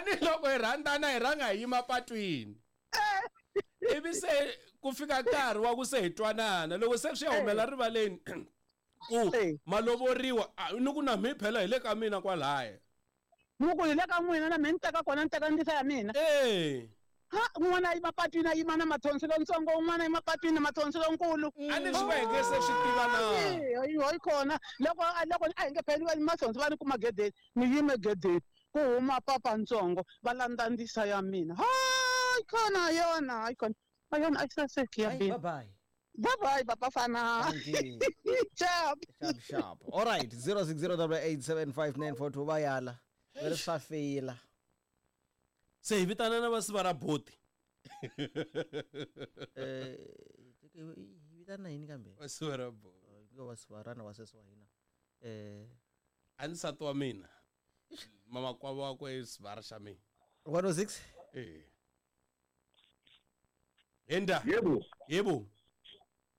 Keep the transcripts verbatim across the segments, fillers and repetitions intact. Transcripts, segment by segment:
A ni loko hi rhandzana hi rhanga hi yima patwini. Ivi se ku fika nkarhi wa ku se hi twanana loko se swi ya humela rivaleni ku malovoriwa ni ku na mi phela hi le ka mina kwalaya. Ni ku hi le ka n'wina na mina ni teka kona ni teka ndisa ya mina. Eh. Ha un'wana a yima patwini a yima na mathonsi lontsongo un'wana a yima patwini na mathonsi lonkulu. A ni swi va hi nge se swi tiva na. Hayi kona loko loko a hi nge pheli mathonsi va ni kuma gedeni ni yime gedeni ku huma papa ntsongo va landza ndisa ya mina. Hayi kona yona hayi kona ayona a yi saseki ya bye bye. Bye bye papa fana. Sharp. Sharp sharp. All right zero six zero eight seven five nine four two bayala. Veri swa feyila. Se hi vitana na vasivara boti. Eh hi vitana yini kambe? Vasivara boti. Ngo vasivara na vasesi wa hina. Eh a ni nsati wa mina. Mama kwa wakwe i sivara xa mina. one oh six? Eh. Enda. Yebo. Yebo.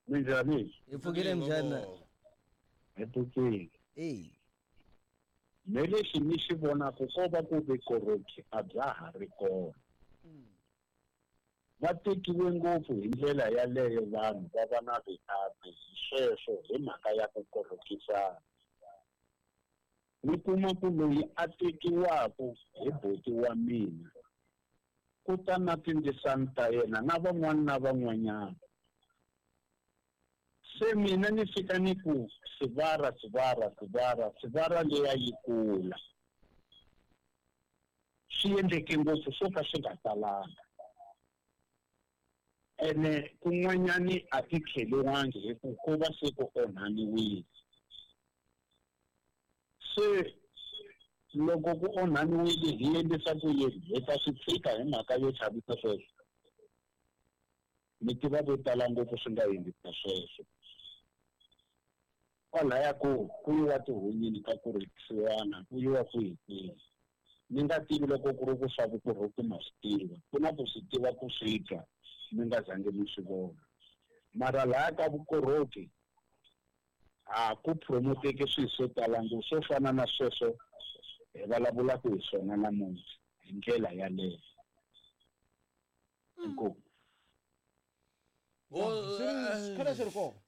Minjhani? Hi pfukile njhani? Hi pfukile. Eh. Me lexi ni xi vonaka ko va ku vukorhokeri a bya ha ri kona. Va tekiwe ngopfu hi ndlela yaleyo vanhu va va na vukati hi sweswo hi mhaka ya ku korhokisana. Ni kuma ku loyi a tekiwaka hi buti wa mina ku ta na tindzisana ta yena na van'wana na van'wanyana. Se mina ni fika ni ku sivara sivara sivara sivara leya yi kula. Swi endleke ngopfu swo ka swi nga talanga. Ene kun'wanyani a ti tlheliwangi hi ku ku va se ku onhaniwile. Se loko ku onhaniwile hi endlisa ku yini hi ta swi tshika hi mhaka yo chavisa sweswo. Ni tiva vo tala ngopfu swi nga endlisa sweswo. Kwalaya ku ku yiwa tihunyini ka ku rhekisiwana ku yiwa kwihi kwihi. Ni nga tivi loko ku ri ku swa vukorhokeri ma swi tiva. Ku na ku swi tiva ku swi twa ni nga zangi ni swi vona. Mara laya ka vukorhokeri a ku promoteke swilo swo tala ngopfu swo fana na sweswo hi vulavulaka hi swona namuntlha hi ndlela yaleyo. Inkomu. Khale swi ri kona.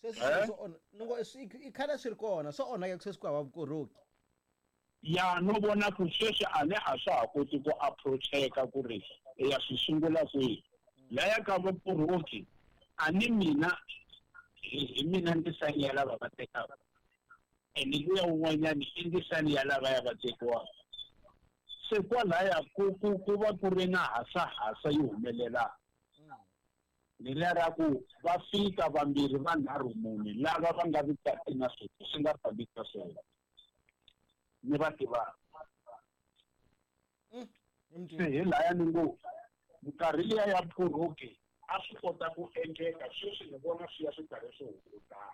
Sweswi swo onha ni ngo i khale swi ri kona swo onhaka sweswi ku hava vukorhokeri. Ya no vona ku sweswi a ne a swa ha koti ku approacheka ku ri ya swi sungula kwihi. Laya ka vukorhokeri a ni mina hi mina ndzisani ya lava va tekaka. Ene luya un'wanyani i ndzisani ya lava ya va tekiwaka. Se kwalaya ku ku ku va ku ri na hasahasa yi humelelaka. Leriya ra ku va fika vambirhi vanharhu mune lava va nga vukati na sweswo swi nga fambisa swona. Ni va tivaka. Se hi laya ni ngo minkarhi liya ya vukorhokeri a swi kota ku endleka sweswi ni vona swi ya swi karhi swi hungutana.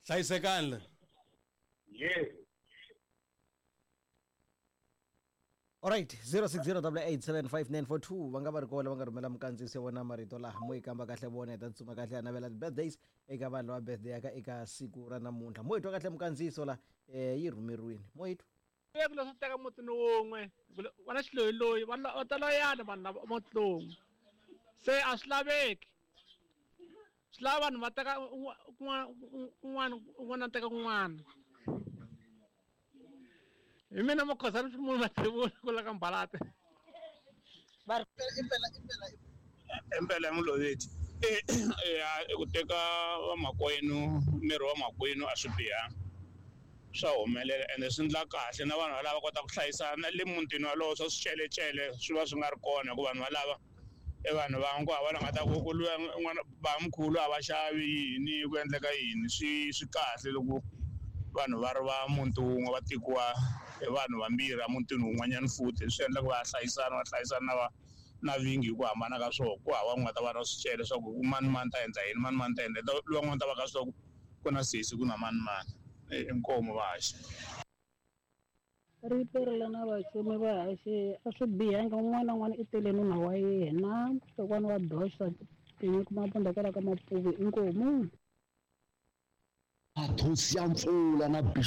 Hlayisekani la. Yebo. All right, zero six zero eight seven five nine four two va nga va ri kona va nga rhumela mikandziyiso ya vona marito laha mo yi kamba kahle vona hi ta tsutsuma kahle ya navela ti-birthdays eka vanhu lava birthday yaka eka siku ra namuntlha. Mo hi twa kahle mikandziyiso la eh yi rhumeriwile. Mo hi twa. Ku leswi teka mutini wun'we va na xiloyiloyi va ta loyana vanhu lava muti lowun'we. Se a swi laveki. Swi lava vanhu va teka kun'wana kun'wana un'wana a teka kun'wana. Hi mina Makhosana Swimunhu Mathebula ku la ka Mbalati. Va impela impela impela muloveti. Eh eh ku teka vamakwenu miri wa makwenu a swi bihanga. Swa humelela ende swi endla kahle na vanhu valava kota ku hlayisana le mutini walowo swa swicelecelele swi va swi nga ri kona hikuva vanhu valava i vanhu va ku hava la nga ta ku ku luya n'wana va mkhulu a va xavi yini ku endleka yini swi swi kahle loko vanhu va ri va muti wun'we va tekiwa hi vanhu vambirhi emutini wun'wanyana futhi swi endla ku va hlayisana va hlayisana na va na vingi hi ku hambana ka swona ku hava un'we ta va na swicele swa ku mani mani ta endla yini mani mani ta endla luya un'wana ta va ka swa ku ku na sesi ku na mani mani inkomu va haxa. Ri na vatsumi va haxe a swi bihanga un'wana na un'wana i tele nuna wa yena kokwana wa doxa tinyiko mapunda kwala ka Mapuve inkomu. Mathonsi ya mpfula na Bishop